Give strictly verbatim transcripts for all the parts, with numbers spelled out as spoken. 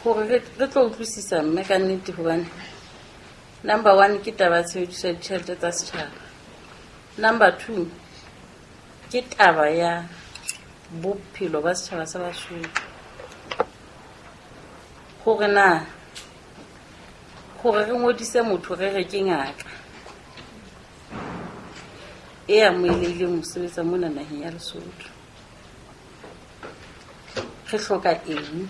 Gore re tlo utlwisisa mme ka nnete hobane number one ke taba ya tshebediso ya ditjhelete tsa setjhaba. Number two ke taba ya bophelo ba setjhaba sa Basotho. Hore na hore re ngodise motho re re ke ngaka e amohelehileng ho sebetsa mona naheng ya Lesotho. Re hloka eng?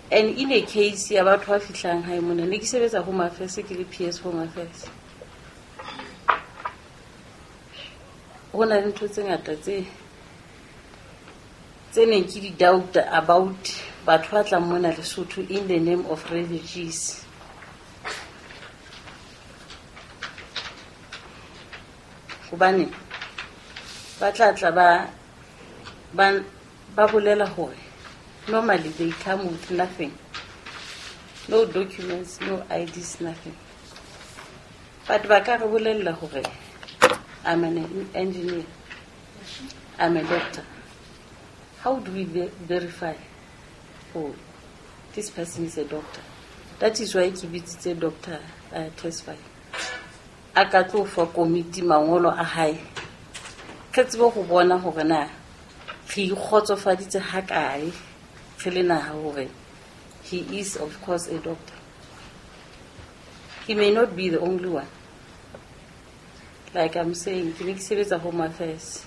And in a case ya batho ba fihlang hae mona, ne ke sebetsa Home Affairs, ke le P S Home Affairs. Ho na le ntho tse ngata tse tse neng ke di doubt about batho ba tlang mona Lesotho in the name of refugees. Hobane ba tla tla ba ba ba bolela hore normally they come with nothing, no documents, no I Ds, nothing. But ba ka re bolella hore I'm an engineer, I'm a doctor. How do we verify, oh, this person is a doctor? That is why ke bitsitse doctor uh, Tesfaye. A ka tlo fa komiti mangolo a hae. Re tsebe ho bona hore na re ikgotsofaditse ha kae re le naha hore he is of course a doctor. He may not be the only one. Like I'm saying, ke ne ke sebetsa Home Affairs.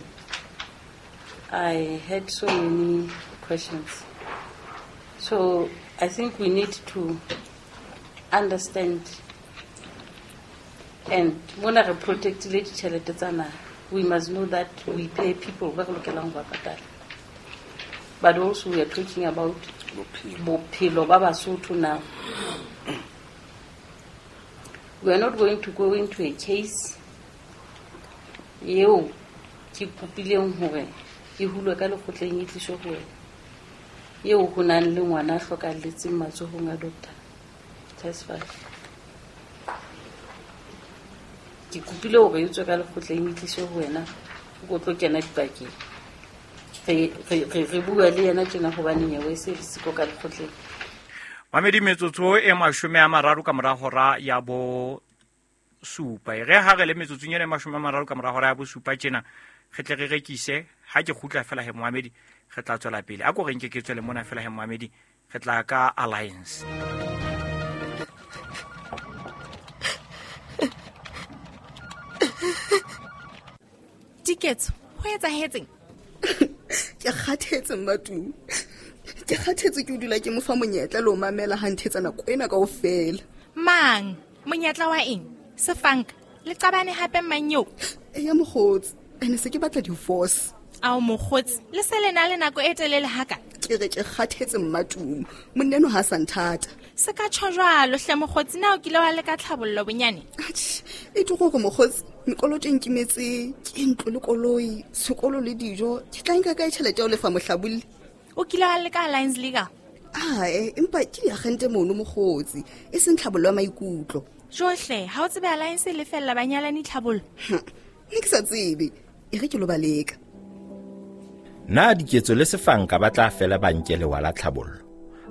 I had so many questions. So I think we need to understand and mona re protectile ditjhelete tsa naha. We must know that we pay people ba re lokelang ho ba patala. But also we are talking about bophelo ba Basotho now. We are not going to go into a case eo ke kopileng hore e hulwe ka lekgotleng e tliswe ho wena, eo ho nang le ngwana a hlokahalletseng matsohong a Doctor Tesfaye. Ke kopile hore e tswe ka lekgotleng e tliswe ho wena, o tlo kena dipakeng. Re re re bua le yena tjena hobane nyewe e se le siko ka lekgotleng. Mamedi metsotso e mashome a mararo ka mora hora ya bo supa. E re ha re le metsotsong ena e mashome a mararo ka mora hora ya bo supa tjena, re tle re rekise. Ha ke kgutla fela he Mohamedi, re tla tswela pele. A ko re nke ke tswele mona fela he Mohamedi, re tla ka Alliance. Diketso, ho etsahetseng? Ke kgathetse Mmatumi. Ke kgathetse ke dula ke mo fa monyetla le ho mamela ha nthetsa nako ena kaofela. Mang? Monyetla wa eng? Sefanka, le qabane hape mang eo? Eya mokgotsi, ene se ke batla divorce. Ao mokgotsi, le se le na le nako e telele haka? Ke re ke kgathetse Mmatumi, monna eno ha sa nthata. Se ka tjho jwalo hle mokgotsi, na o kile wa leka tlhabollo bonyane? Atjhe, e tlo gore mokgotsi, mekoloto e nkimetse, ke ntlo le koloi, sekolo le dijo, ke tla nka kae tjhelete ya ho lefa mohlabolli? O kile wa leka Alliance Legal? Ae, empa ke diagente mono mokgotsi, e seng tlhabollo ya maikutlo. Johle, ha o tsebe Alliance e lefella banyalani tlhabollo? Ne ke sa tsebe, e re ke lo ba leka. Na Diketso le Sefanka ba tla fela ba nke lewa la tlhabollo,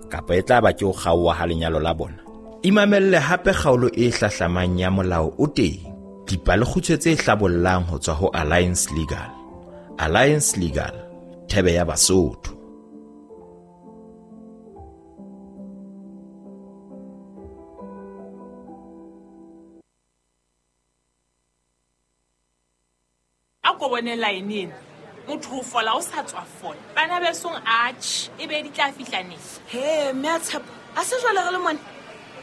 kapa e tla ba ke ho kgaoha ha lenyalo la bona? Imamelle hape kgaolo e hlahlamang ya Molao o Teng, dipalekgutshwe tse hlabollang ho tswa ho Alliance Legal. Alliance Legal, thebe ya Basotho. A ko bone line ena. Motho o fola o sa tswa fola. Bana besong atjhe, e be di tla fihla neng? He, mme a Tshepo, a se jwale re le mona.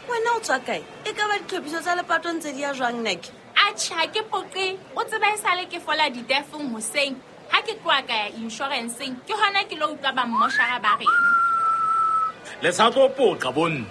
Wena o tswa kae? E ka ba ditlhophiso tsa lepato ntse di ya jwang nake? Atjhe, ha ke poqe. O tseba e sale ke fola ditefong hoseng. Ha ke tloha ka ya insurance-eng, ke hona ke lo utlwa ba mmoshara ba reng. Le sa tlo poqa bonne.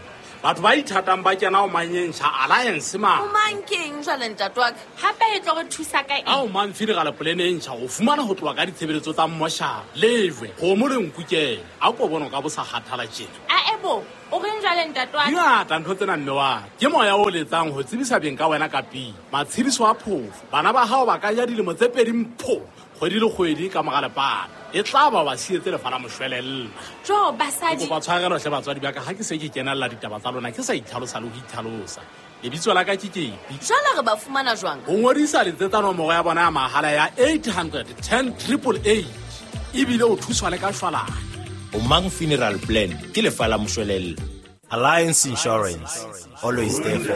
Batho ba ithatang ba kena ho manyensha Alliance ma. O mang keng jwale ntate wa ka? Hape e tlo re thusa ka eng? Ao mang funeral plan e ntjha o fumana ho tloha ka ditshebeletso tsa mmoshara. Lejwe, kgomo le nkukela. A ko bona ka bo sa kgathala tjena. A ebo, o reng jwale ntate wa ka? Dingata ntho tsena mme wa. Ke moya o letsang ho tsebisa beng ka wena ka pele. Matshediso a phofo. Bana ba hao ba ka ja dilemo tse pedi mpho. Kgwedi le kgwedi ka mora lepato. E tla ba ba sietse lefa la moshwelella. Jo, basadi. Kopa tshwarelo hle batswadi ba ka ha ke se ke kenella ditaba tsa lona ke sa itlhalosa le ho itlhalosa. Lebitso la ka ke Kepi. Jwale re ba fumana jwang? Ho ngodisa letsetsa nomoro ya bona ya mahala ya eight hundred ten triple eight. Ebile o thuswa le ka shwalane. Omang Funeral Plan ke lefa la moshwelella. Alliance Insurance, always there for